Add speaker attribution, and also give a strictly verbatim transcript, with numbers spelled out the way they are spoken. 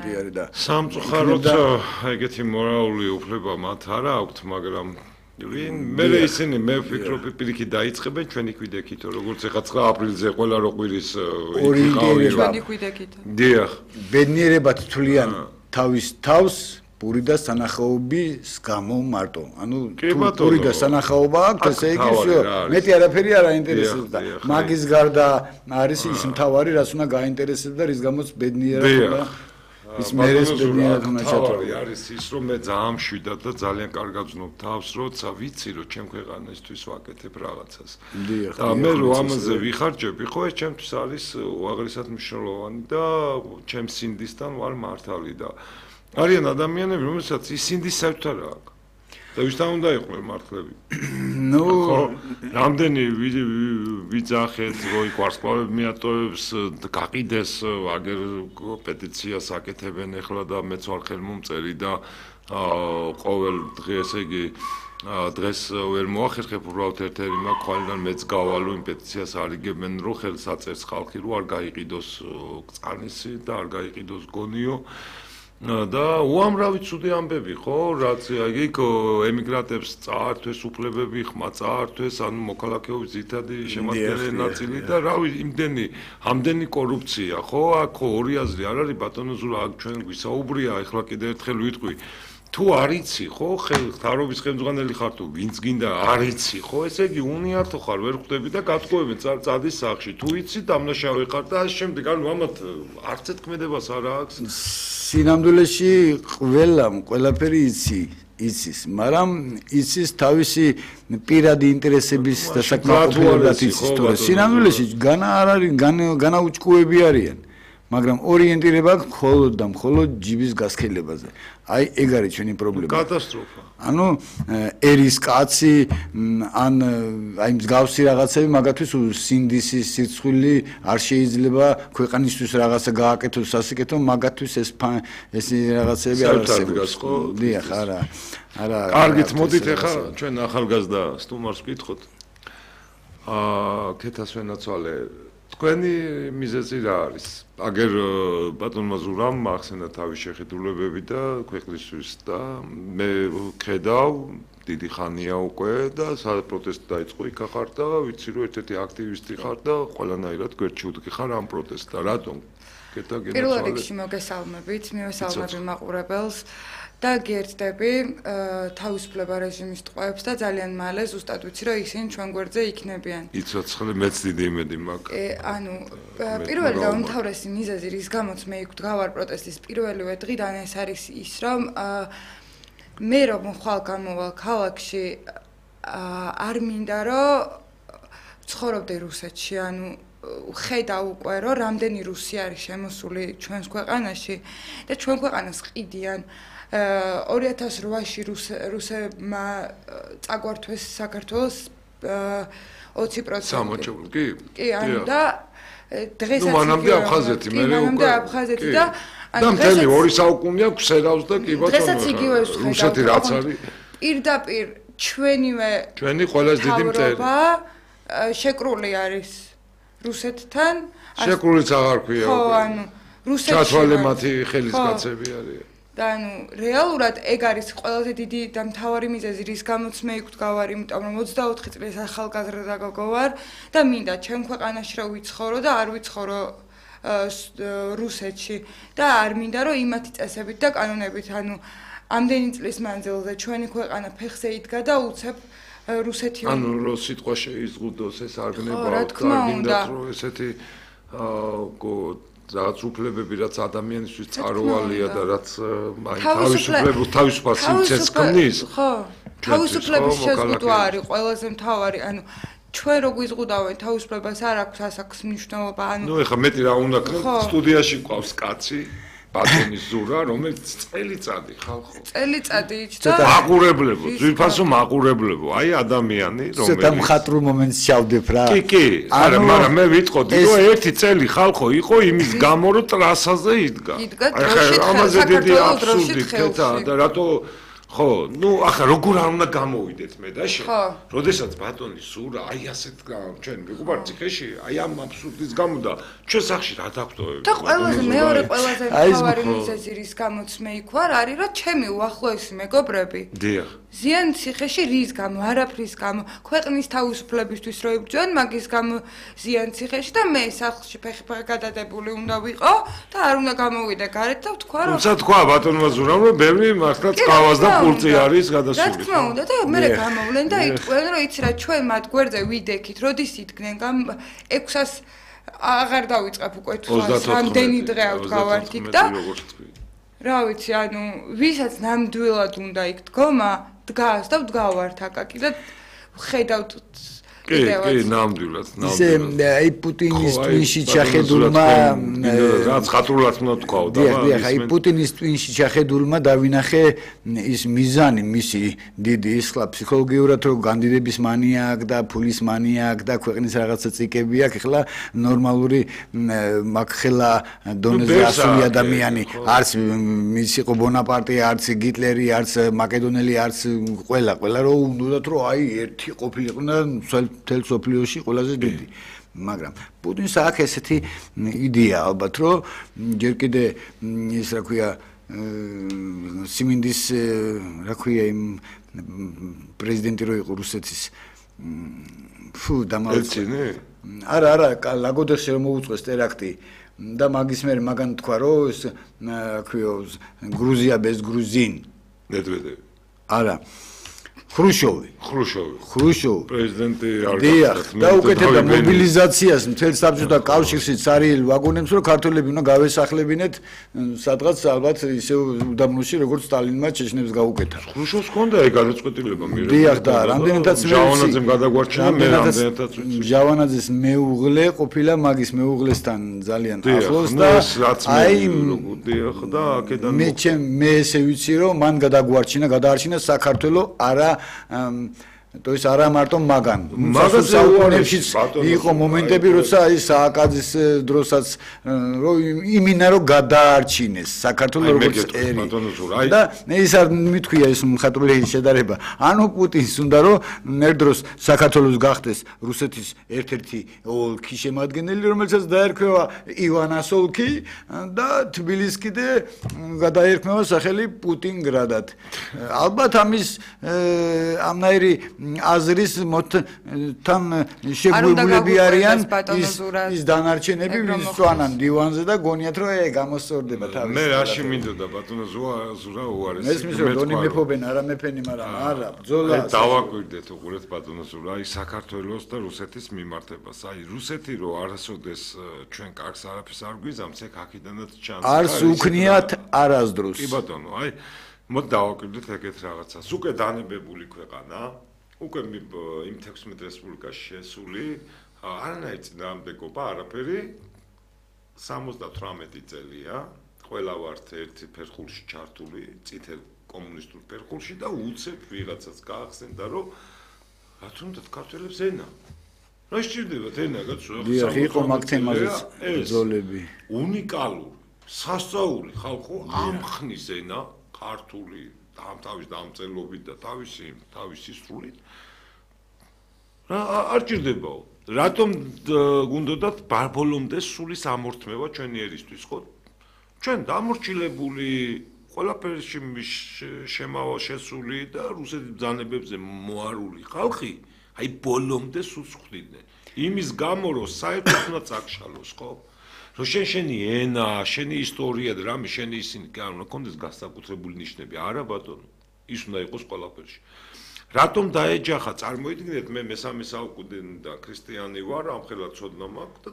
Speaker 1: კი არის და
Speaker 2: სამწუხაროდ ეგეთი მორალური უფლება მათ არა აქვთ, მაგრამ ვინ მე ისინი მე ვფიქრობ პირიქით დაიწყებენ ჩვენი კვიდექით, როგორც ეხა ცხრა აპრილზე ყველა როყვირის
Speaker 1: ორი
Speaker 3: ჩვენი კვიდექით.
Speaker 2: დიახ.
Speaker 1: ბედნიერებად თვლიან თავის თავს პური და სანახაობის გამო მარტო. ანუ პური და სანახაობა აქვს, ესე იგი всё. მეტი არაფერი არ აინტერესებს და მაგის გარდა არის ის მთავარი, რაც უნდა გაინტერესებს და რის გამოც ბედნიერად უნდა ის მერეს ბედნიერად უნდა ჩათვალო.
Speaker 2: არის ის რომ მე ძალიან მშვიდად და ძალიან კარგად ვზნობ თავს, როცა ვიცი რომ ჩემ ქვეყანისთვის ვაკეთებ რაღაცას. და მე რო ამაზე ვიხარჯები, ხო ეს ჩემთვის არის უაღრესად მნიშვნელოვანი და ჩემ სინდისთან ვარ მართალი და არიან ადამიანები, რომელსაც ის სინდის საერთოდ არ აქვს. და ვისთან უნდა იყვნენ მართლები?
Speaker 1: ნუ,
Speaker 2: რამდენი ვიძახეთ, როი ვარსკვლავები მიატოვებს, გაყიდეს, აგერ პეტიციას აკეთებენ ახლა და მეც ვარ ხელმომწერი და ყოველ დღე, ესე იგი, დღეს ვერ მოახერხებ უბრალოდ ერთ-ერთი მაქვს, ხვალიდან მეც გავალო იმ პეტიციას არიგებენ, რომ ხელს აწერს ხალხი, რომ არ გაიყიდოს წყანისი და არ გაიყიდოს გონიო. და უამრავი ცუდი ამბები ხო რაც იქ ემიგრანტებს წაართვეს უფლებები ხმა წაართვეს ანუ მოქალაქეობის ძირითადი შემადგენელი ნაწილი და რავი იმდენი ამდენი კორუფცია ხო აქ ორი აზრი არ არის ბატონო ზურა აქ ჩვენ გვისაუბრია ახლა კიდე ერთხელ ვიტყვი თუ არიცი ხო ხარობის ხელმძღვანელი ხარ თუ ვინც გინდა არიცი ხო ესე იგი უნიათო ხარ ვერ ხვდები და გატყუებენ წადის სახში თუ იცი დამნაშავე ხარ და ამ შემდეგ ანუ ამათ არც ეთქმედებას არ აქვს
Speaker 1: სინამდვილეში ყველამ ყველაფერი იცი იცის მაგრამ იცის თავისი პირადი ინტერესების დასაკმაყოფილებლად იცის თორე სინამდვილეში განა არ არის განაუჭკუები არიან მაგრამ ორიენტირება აქვს მხოლოდ და მხოლოდ ჯიბის გასქელებაზე. აი ეგ არის ჩვენი პრობლემა.
Speaker 2: კატასტროფა.
Speaker 1: ანუ ერის კაცი ან აი მსგავსი რაღაცები მაგათთვის სინდისის სირცხვილი არ შეიძლება ქვეყანისთვის რაღაცა გააკეთოს სასიკეთო მაგათთვის ეს ეს რაღაცები არ არსებობს. დიახ, არა. არა.
Speaker 2: კარგით, მოდით ახლა ჩვენ ახალგაზრდა სტუმარს ვკითხოთ. აა, ქეთასვენაცვალე თქვენი მიზეზი რა არის? აგერ ბატონმა ზურამ ახსენა თავის შეხედულებები და ქვეყნისთვის და მე ხედავ დიდი ხანია უკვე და საპროტესტო დაიწყო იქ ხარ და ვიცი რომ ერთ-ერთი აქტივისტი ხარ და ყველანაირად გვერდჩიუდგე ხარ ამ პროტესტს და რატომ?
Speaker 3: პირველ რიგში მოგესალმებით, მივესალმები მაყურებელს. და გიერთდები თავისუფლება რეჟიმის ტყვეებს და ძალიან მალე ზუსტად ვიცი რომ ისინი ჩვენ გვერდზე იქნებიან.
Speaker 2: იცოცხლე მეც დიდი იმედი მაქვს.
Speaker 3: ანუ პირველი და უმთავრესი მიზეზი რის გამოც მე იქ ვდგავარ პროტესტის პირველივე დღიდან ეს არის ის რომ მე რომ ხვალ გამოვალ ქალაქში არ მინდა რომ ცხოვრობდე რუსეთში ანუ ხედავ უკვე რომ რამდენი რუსი არის შემოსული ჩვენს ქვეყანაში და ჩვენ ქვეყანას ყიდიან ორი ათას რვაში რუსებმა წაგვართვეს საქართველოს ოცი პროცენტი.
Speaker 2: სამოჭრული კი?
Speaker 3: კი, ანუ და დღესაც
Speaker 2: ნუ მანამდე აფხაზეთი, მე უკვე
Speaker 3: მანამდე აფხაზეთი და
Speaker 2: და მთელი ორი საუკუნეა ქსერავს და კი ბატონო.
Speaker 3: დღესაც იგივე ვხედავ.
Speaker 2: რუსეთი რაც არის?
Speaker 3: პირდაპირ ჩვენივე
Speaker 2: ჩვენი ყველაზე დიდი მტერი.
Speaker 3: შეკრული არის რუსეთთან.
Speaker 2: შეკრულიც აღარ ქვია უკვე.
Speaker 3: ხო, ანუ რუსეთში
Speaker 2: ჩათვალე მათი ხელისკაცები არის.
Speaker 3: და ანუ რეალურად ეგ არის ყველაზე დიდი და მთავარი მიზეზი რის გამოც მე იქ ვდგავარ იმიტომ რომ ოცდაოთხი წლის ახალგაზრდა გოგო ვარ და მინდა ჩემ ქვეყანაში რომ ვიცხოვრო და არ ვიცხოვრო რუსეთში და არ მინდა რომ იმათი წესებით და კანონებით ანუ ამდენი წლის მანძილზე ჩვენი ქვეყანა ფეხზე იდგა და უცებ რუსეთი
Speaker 2: ანუ რო სიტყვა შეიზღუდოს ეს არ გნება გინდათ რომ ესეთი აა რაც უფლებები რაც ადამიანისთვის წარუვალია და რაც აი თავისუფლებას თავისუფალ სიცოცხლეს ქმნის
Speaker 3: ხო თავისუფლების შეზღუდვა არის ყველაზე მთავარი ანუ ჩვენ რო გვიზღუდავენ თავისუფლებას არ აქვს ასაკს მნიშვნელობა ანუ
Speaker 2: ნუ ეხლა მეტი რა უნდა ქნათ სტუდიაში ყავს კაცი ბატონის ზურა რომელიც წელიწადი ხალხო
Speaker 3: წელიწადი იჭდა
Speaker 2: მაყურებლებო ძვირფასო მაყურებლებო აი ადამიანი რომელიც
Speaker 1: ცოტა მხატვრულ მომენტს ჩავდებ რა
Speaker 2: კი კი არა მაგრამ მე ვიტყოდი რომ ერთი წელი ხალხო იყო იმის გამო რომ ტრასაზე იდგა
Speaker 3: იდგა დროში ამაზე
Speaker 2: დიდი აბსურდი ქეთა და რატო ხო, ну, ახლა როგორ არ უნდა გამოვიდეთ მე და შენ.
Speaker 3: ხო.
Speaker 2: როდესაც ბატონი სურა, აი ასეთ ჩვენ მეგობარ ციხეში, აი ამ აბსურდის გამო და ჩვენ სახში რა დაგვტოვებთ?
Speaker 3: და ყველაზე მეორე ყველაზე მთავარი მიზეზი რის გამოც მე იქ ვარ, არის რომ ჩემი უახლოესი მეგობრები.
Speaker 2: დიახ.
Speaker 3: ზიან ციხეში რის გამო, არაფრის გამო, ქვეყნის თავისუფლებისთვის რო იბრძვიან, მაგის გამო ზიან ციხეში და მე სახლში ფეხი-ფეხი გადადებული უნდა ვიყო და არ უნდა გამოვიდე გარეთ და ვთქვა რომ
Speaker 2: თუმცა თქვა ბატონმა ზურამ რომ ბევრი მართლა წყავას და პურწი არის გადასული.
Speaker 3: რა თქმა უნდა და მე გამოვლენ და იტყვიან რომ იცი რა ჩვენ მათ გვერდზე ვიდექით, როდის იდგნენ გამ ექვსას აღარ დავიწყებ უკვე თვალს, რამდენი დღე აქვს გავარდიქ და რა ვიცი, ანუ ვისაც ნამდვილად უნდა იქ დგომა, დგას და ვდგავართ აკაკი და ხედავთ
Speaker 2: კი, კი, ნამდვილად, ნამდვილად.
Speaker 1: ისე აი პუტინის ტვინში ჩახედულმა
Speaker 2: რაც ხათრულად უნდა თქვა და
Speaker 1: დიახ, აი პუტინის ტვინში ჩახედულმა დავინახე ის მიზანი მისი დიდი ის ხლა ფსიქოლოგიურად რომ განდიდების მანია აქვს და ფულის მანია აქვს და ქვეყნის რაღაცა წიკები აქვს, ეხლა ნორმალური მაგხელა დონეზე ასული ადამიანი არც ის იყო ბონაპარტე, არც გიტლერი, არც მაკედონელი, არც ყველა, ყველა რომ უნდათ რომ აი ერთი ყოფილიყო და მთელ სოფლიოში ყველაზე დიდი. მაგრამ პუტინს აქვს ესეთი იდეა ალბათ, რომ ჯერ კიდე ის რა ქვია სიმინდის რა ქვია იმ პრეზიდენტი რო იყო რუსეთის ფუ დამალწინე. არა, არა, ლაგოდეხში რომ მოუწყვეს ტერაქტი და მაგის მერე მაგან თქვა რომ ეს რა ქვია გრუზია без грузин.
Speaker 2: მედვედევი.
Speaker 1: არა. ხრუშოვი
Speaker 2: ხრუშოვი
Speaker 1: ხრუშოვი
Speaker 2: პრეზიდენტი არ
Speaker 1: გახდა და უკეთებდა მობილიზაციას მთელ საბჭოთა კავშირში цаრიელ ვაგონებს რომ ქართველები უნდა გავესახლებინეთ სადღაც ალბათ ისევ უდაბნოში როგორც სტალინმა ჩეჩნებს გაუკეთა
Speaker 2: ხრუშოვს ჰქონდა ეგ გადაწყვეტილება მირე
Speaker 1: დიახ და რამდენადაც
Speaker 2: ჟავანაძემ გადაგვარჩინა მე რამდენადაც
Speaker 1: ჟავანაძის მეუღლე ყოფილა მაგის მეუღლესთან ძალიან ახლოს და
Speaker 2: აი დიახ და აქედან
Speaker 1: მე მე ესე ვიცი რომ მან გადაგვარჩინა გადაარჩინა საქართველოს არა то есть არა მარტო მაგან
Speaker 2: მაგაზე
Speaker 1: უარებში იყო მომენტები როცა აი სააკაძის დროსაც რომ იმინა რომ გადაარჩინეს საქართველოს როგორც ერი და ის არ მithქვია ეს მხატვრული შედარება ანუ პუტინს უნდა რომ ნერდროს საქართველოს გახდეს რუსეთის ერთ-ერთი ოლქი შემადგენელი რომელსაც დაერქვევა ივანას ოლქი და თბილისს კიდე გადაერქმევა სახელი პუტინგრადად ალბათ ამის ამნაირი აზრის მოთან შეგვიულები არიან ის ის დანარჩენები ვის წვანან დივანზე და გონიათ რომ ე გამოსწორდება თავის
Speaker 2: მე რაში მინდოდა ბატონო ზურა უარეს
Speaker 1: ეს მის რომ დონი მეფობენ არა მეფენი მაგრამ არა ბძოლა
Speaker 2: დავაკვირდეთ უყურეთ ბატონო ზურა აი საქართველოს და რუსეთის მიმართებას აი რუსეთი რო არასოდეს ჩვენ კარგს არაფერს არ გვიზამს ეგ აქედანაც ჩანს
Speaker 1: არს უქნიათ არასდროს
Speaker 2: კი ბატონო აი მოდი დავაკვირდეთ ეგეთ რაღაცას უკვე დანებებული ქვეყანა უკვე იმ თექვსმეტ რესპუბლიკაში შესული არანაირი წინააღმდეგობა არაფერი სამოცდათვრამეტი წელია ყველა ვართ ერთი ფერხულში ჩართული წითელ კომუნისტურ ფერხულში და უცებ ვიღაცას გაახსენდა რომ რა თუნდაც ქართველებს ენა რა სჭირდებათ ენა გაცო
Speaker 1: დიახ იყო მაგ თემაზეც ბრძოლები
Speaker 2: უნიკალური სასწაული ხალხო ამხნის ენა ქართული ამ თავის დამწერლობით და თავისი თავისი სრულით რა არ ჭირდებაო რატომ გუნდოდათ ბოლომდე სული სამორთმევა ჩვენი ერისთვის ხო ჩვენ დამორჩილებული ყველაფერში შემავა შესული და რუსეთის ბრძანებებზე მოარული ხალხი აი ბოლომდე სულს ხვდნენ იმის გამო რომ საერთოდ უნდა წაგშალოს ხო რომ შენ შენი ენა, შენი ისტორია და რამე შენი ისინი არ უნდა კონდეს განსაკუთრებული ნიშნები, არა ბატონო, ის უნდა იყოს ყველაფერში. რატომ დაეჯახა, წარმოიდგინეთ მე მესამე საუკუნიდან ქრისტიანი ვარ, ამხელა ცოდნა მაქვს და